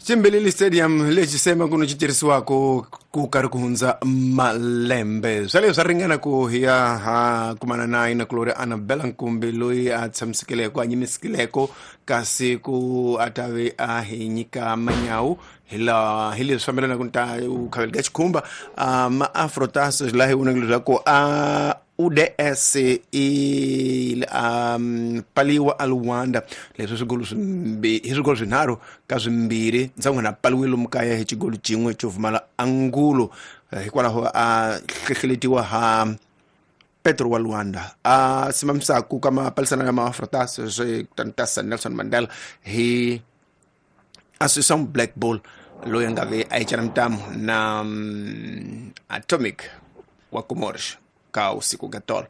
Chimbelele Stadium lexi se makuno xi tirhisiwaka ku karhi ku hundza malembe. Swa leswi swa ringana ku hi ya ha kumana na yina kulori Annabella Nkumbi loyi a tshamisekileko a nyimisekileko kasi ku a ta ve a hi nyika manyawu hi laha hi leswi fambelanaka ni ta khaveli ka xikhumba ma afrotas laha hi vonaka leswaku a UDS i paliwa a Luanda leswi swigolo swimbi hi swigolo swinharhu ka swimbirhi ndzangwana paliwe lomu kaya hi xigolo xin'we xo pfumala angulo. Hikwalaho a hlehleletiwa ha Petro wa Luanda a simamisaku ka mapalisana ya maafrotas swi tantasa Nelson Mandela hi Association Black Bull loyi a nga ve a yi ntamu na Atomic wa Comores ka usiku ka tolo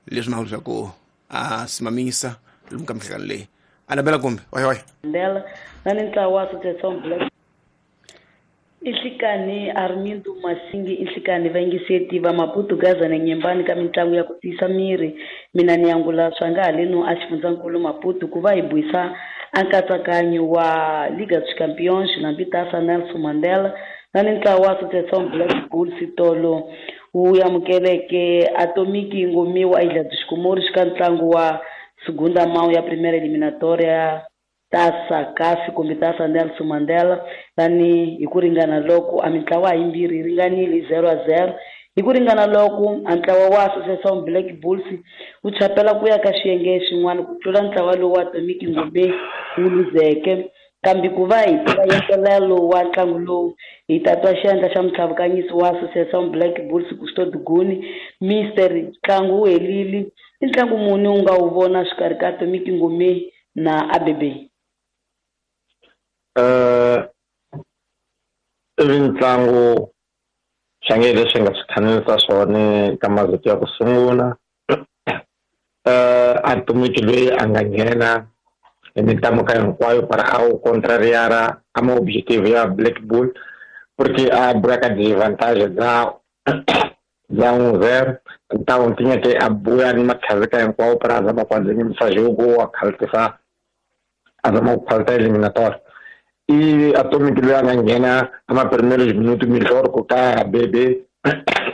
leswi ma leswaku a simamisa lomu ka minhlangano leyi. Annabella kumbe oy oy Mandela na ni ntlawa wa Association Black Inhlikani Armindo Masingi inhlikani vayingiseti va Maputo Gaza na Nyembani ka mitlangu ya ku tiyisa miri. Mina ni angula swa nga haleno a xifundzankulu Maputo ku va hi buisa a nkatsakanyo wa Liga dos Campeões na Mbitasa Nelson Mandela na ni ntlawa wa Association Black Bulls tolo wu amukeleke Atomic Ngomiwa Ilha dos Comores ka ntlangu wa segunda mão ya primeira eliminatória Taça CAF kumbe Taça Nelson Mandela tani hi ku ringana loko a mintlawa yimbirhi yi ringanile 0-0 hi ku ringana loko a ntlawa wa Association Black Bulls wu chapela ku ya ka xiyenge xin'wana ku tlula ntlawa lowu wa Atomic Ngome wu luzeke. Kambe ku va hi tiva yentelelo wa ntlangu lowu hi ta twa xiyandla xa mutlhavukanyisi wa Association Black Bulls Gusto Duguni. Mister, ntlangu wu helile, i ntlangu muni u nga wu vona xikarhi ka Atomic Ngome na ABB? I mitlangu xange leswi nga swi khanelisa swona ka mavito ya ku sungula. Atomic loyi a nga nghena hi mitlangu ka hinkwayo para a wu contrariara a ma objective ya Black Bull porque a buya ka disadvantage bya 1-0 então tinha que a buya ni makhazika hinkwawo para a zama ku andzimisa jogo a khaltisa a zama ku khalta eliminatória. E Atomic loyi a nga nghena a ma primeiros minutos melhor ku ka ABB.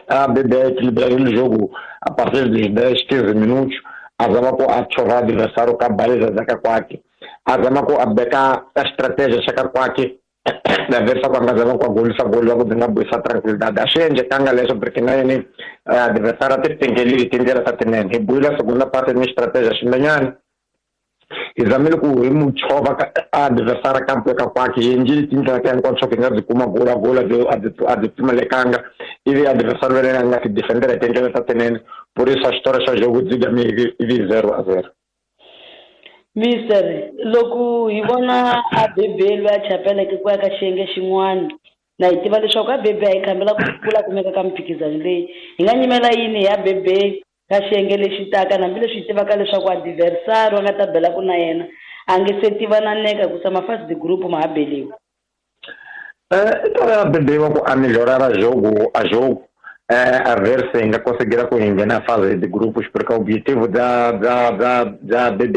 A ABB equilibraram o jogo a partir dos 10, 15 minutos a zama ku a chova adversário ka baliza zaka kwake a zama ku a beka a estratégia xaka kwake da versa ku a nga zama ku a golisa gol wa ku byi nga buyisa tranquilidade. A swi endlekanga leswo porque na yini adversário a ti tingelile tindlela ta tinene. Hi buyile segunda parte ni estratégia xin'wanyana hi zamile ku hi mu chova ka adversário kampo ka kwake hi endlile tindlela ta hinkwato swa ku hi nga byi kuma gola gola a byi pfumalekanga ivi adversário va yena a nga ti defendera hi tindlela ta tinene. Por isso a história xa jogo dzigame ivi 0-0. Mister, loko hi vona ABB loyi a chapeleke ku ya ka xiyenge xin'wana na hi tiva leswaku ABB a yi khambela ku kula kumeka ka mimphikizano leyi, hi nga nyimela yini hi ABB ka xiyenge lexi taka hambileswi hi tivaka leswaku adversário a nga ta belaku na yena a nge se tivananeka hikusa ma-fase de group ma ha beliwa? I ta ABB wa ku a melhorara jogo a jogo a ver se nga conseguir ku hi nghena fase de grupos porque o objetivo da ABB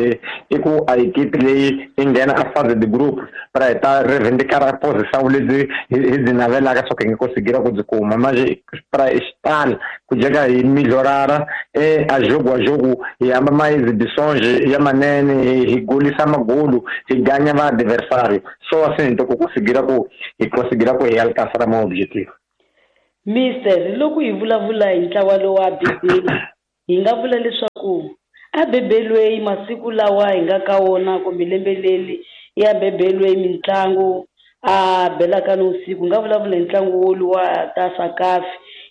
i ku a equipe leyi yi nghena a fase de grupos para hi ta reivindicar a posição lebyi hi byi navelaka swa ku hi nga conseguir ku byi kuma. Mas para estar ku jeka hi melhorara a jogo hi hamba ma exibições ya manene hi golisa magolo hi ganha va adversário só assim então ku conseguir ku hi conseguir ku hi alcançar ma objetivo. Mister, loko hi vulavula hi ntlawa lowu wa ABB hi nga vula leswaku ABB loyi masiku lawa hi nga ka wona kumbe lembe leri i ABB loyi mitlangu a belaka ni usiku. Hi nga vulavula hi ntlangu woluwa Taça CAF,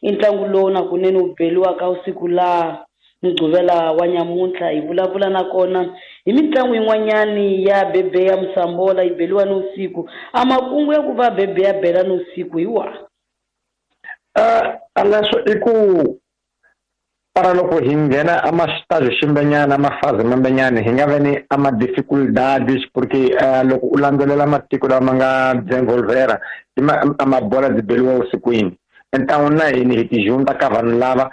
i ntlangu lowu na kunene wu beliwaka usiku laha Mugqivela wa nyamuntlha. Hi vulavula nakona hi mitlangu yin'wanyani ya ABB ya Musambola yi beliwa ni usiku. A makungu ya ku va ABB ya bela ni usiku hi wahi? Leswo i ku para loko hi nghena a ma-estágio ximbenyana a ma-fase mambenyana hi nga ve ni a ma-dificuldades porque loko u landzelela matiko lama nga desenvolvera a mabola byi beliwa vusikwini. Então na hini hi ti junta ka vanhu lava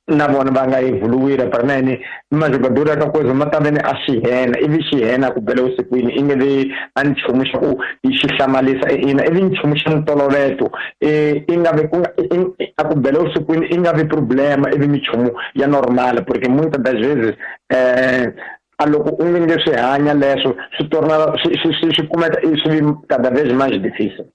Na vona va nga evoluir para nene majogador ka coisa ma ta vene a xihena ivi xihena ku bela usikwini i nge vi a nchumu xa ku xi hlamalisa ina ivi nchumu xa ntoloveto i nga vi ku a ku bela usikwini i nga vi problema ivi minchumu ya normal porque muitas das vezes a loko u nge swi hanya leswo swi torna swi kumeka swi vi cada vez mais difícil.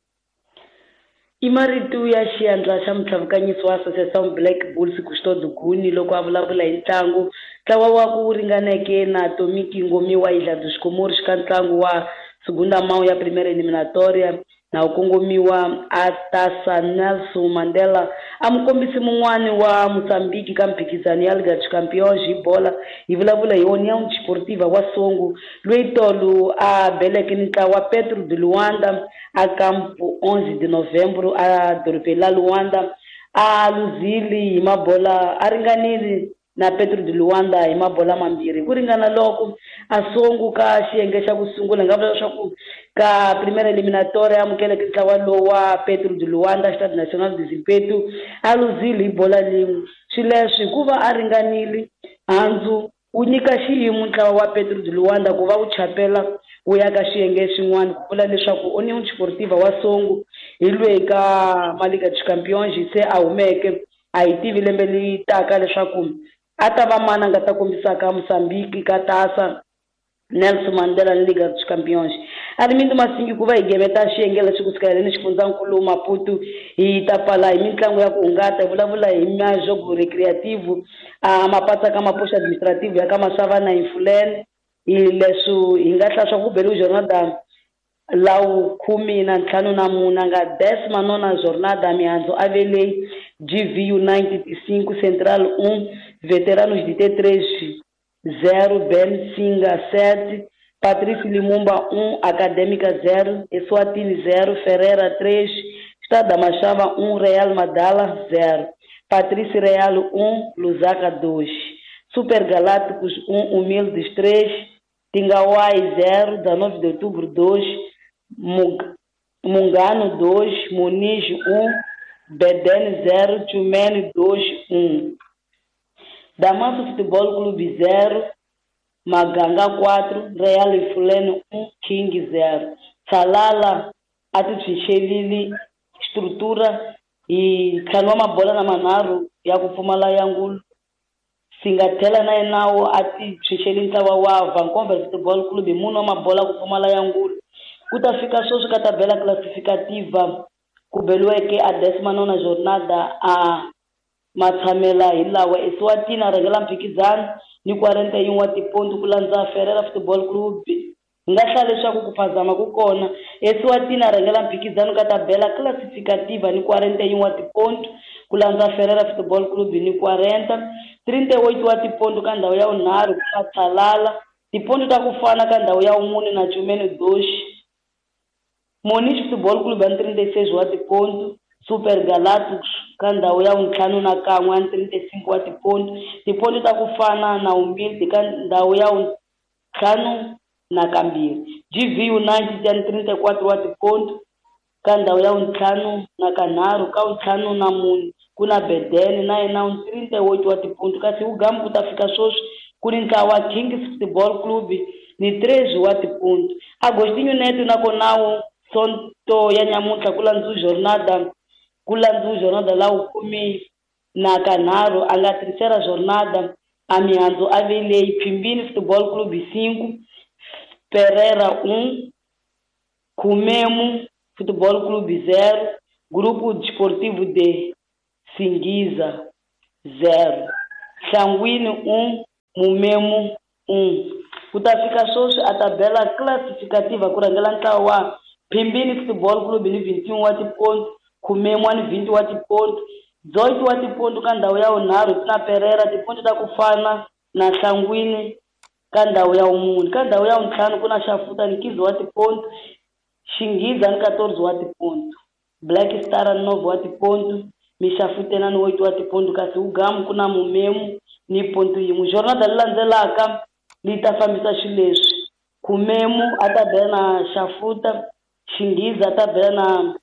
I marito ya xiandla xa mutlhavukanyiso wa Associação Black Bulls Custódio Guni loko a vulavula hi ntlangu ntlawa wa ku ringaneke na Tomiki Ngomiwa Ilha dos Comores ka ntlangu wa segunda mão ya primeira eliminatória na wu kongomiwa a Taça Nelson Mandela a mukombisi mun'wani wa Mozambique ka mphikizano ya Liga dos Campeões hi bola hi vulavula hi União Desportiva wa Songo loyi tolo a beleke ni ntlawa Petro de Luanda a campo 11 de novembro a dorobeni la Luanda a luzile hi mabola a ringanile na Petro de Luanda hi mabola mambirhi ku ringana loko a Songo ka xiyenge xa ku sungula nga vula leswaku ka primeira eliminatória amukeleke ntlawa lowu wa Petro de Luanda Stade Nacional de Zimpeto a luzile hi bola lin'we swileswi hikuva a ringanile handzu wu nyika xiyimo ntlawa wa Petro de Luanda ku va wu chapela wu ya ka xiyenge xin'wana ku vula leswaku União Desportiva wa Songo hi lweyi ka Liga dos Campeões se a humeke a hi tivi lembe leri taka leswaku a ta va mani a nga ta kombisaka Mozambique ka Taça Nelson Mandela ni Liga dos Campeões. Armindo Masingi ku va hi gemeta xiyenge lexi kusuka leni xifundzankulu Maputo hi ta pfala hi mitlangu ya ku hungata hi vulavula hi majogo recreativo a mapatsa ka mapoxa administrativo ya ka Masava na Infulene hi leswi hi nga hlaya swa ku beriwe jornada lawu 14 nga 19ª jornada mihandzu a vele GVU 95 Central 1 Veteranos de T3 0 Ben Singa 7 Patrício Limumba 1 Acadêmica 0 Eswatini 0 Ferreira 3 Estado da Machava 1 Real Madala 0 Patrício Real 1 Lusaka 2 Super Galácticos 1 Humildes 3 Tingawai 0 19 de outubro 2 Mungano 2 Muniz 1 Bedene 0 Tchumene 2 1 Damanso Futebol Clube 0 Maganga 4 Real Ifulene 1 King 0 Salala atitshixelile estrutura hi ntlhanu wa mabola na manharhu ya ku pfumala ya ngulu Singathela na yenawo a ti tshunxeli ntlawa wa Vancouver Football Club hi mune wa mabola ku pfumala ya ngulu ku ta fika sweswi ka tabela classificativa ku beliweke a 19ª jornada a matshamela hi lawa Eswatini a rhangela mphikizano ni 41 wa tipontu ku landza Ferreira Football Club hi nga hlaya leswaku ku phazama ku kona Eswatini a rhangela mphikizano ka tabela classificativa ni 41 wa tipontu ku landza Ferreira Football Club ni 40 38 wa tipontu ka ndhawu ya vunharhu ku nga Tsalala tipontu ta ku fana ka ndhawu ya vumune na Tchumene 2 Moniz Football Club ya 36 wa tipontu Super Galácticos ka ndhawu ya vuntlhanu na kan'we ya 35 wa tipontu tipontu ta ku fana na Humilde ka ndhawu ya vuntlhanu na kambirhi GV United ya 34 wa tipontu ka ndhawu ya vuntlhanu na kanharhu ka vuntlhanu na mune ku na Bedene na yena 38 wa tipontu kasi Ugamu ku ta fika sweswi ku ni ntlawa wa Kings Football Club ni 3 wa tipontu Agostinho Neto nakona Sonto ya nyamuntlha ku landzu jornada lawu 13 a nga terceira jornada a mihandzu a veleyi Phimbini Football Club 5 Pereira 1 Kumemo Futebol Clube 0 Grupo Desportivo de Singiza 0 Sanguíneo 1 Mumemo 1 Ku ta fika sweswi a tabela classificativa ku rhangela ntlawa wa Phimbini Football Club ni 21 wa tipontu Kumemo ni 20 wa tipontu 18 wa tipontu ka ndhawu ya vunharhu ku na Pereira tipontu ta ku fana na Nhlangwini ka ndhawu ya vumune ka ndhawu ya vuntlhanu ku na Xafuta ni 15 wa tipontu Xinghiza ni 14 wa tipontu Black Star ni 9 wa tipontu Mixafutena ni 8 wa tipontu kasi Ugamu ku na Mumemu ni pontu yin'we jornada leyi landzelaka li ta fambisa xileswi Kumemu a ta bela na Xafuta Xinghiza a ta bela na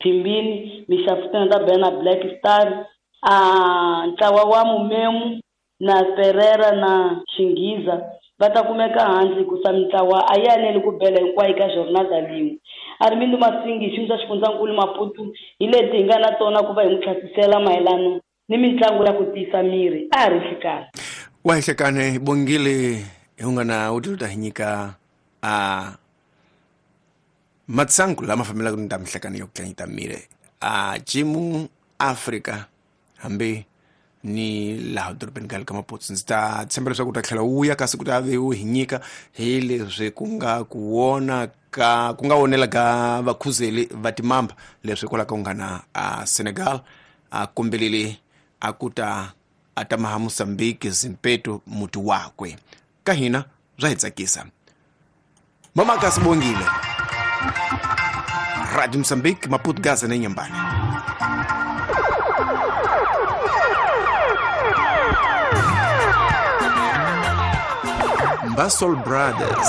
Phimbini Mixafutena a ta bela na Black Star A ntlawa wa Mumemu na Ferreira na Xinghiza va ta kumeka handle hikusa mintlawa a yi aneli ku bela hinkwayo ka jornada lin'we. Armindo Masingi hi xiyimo xa xifundzankulu Maputo hi leti hi nga na tona ku va hi n'wi tlhasisela mayelano ni mitlangu ya ku tiyisa miri a ha ri nhlikani. Wa hihlekane Bongile hi ungana u ta hi nyika a matsangu lama fambelaka ni ta mihlekane yo tlanyita miri a jimu Africa hambi ni laha dorobeni ka le ka Maputo. Ndzi ta tshemba leswaku u ta tlhela wu ya kasi ku ta ve wu hi nyika hi leswi ku nga ku wona ka ku nga wonela ka vakhuzeli va timamba leswi kwala ka ungana a Senegal a kombelele a ku ta a ta maha Mozambique Zimpeto muti wakwe. Ka hina bya hi tsakisa. Mama kasi Bongile, Radio Mozambique, Maputo, Gaza na Inhambane. Basol Brothers.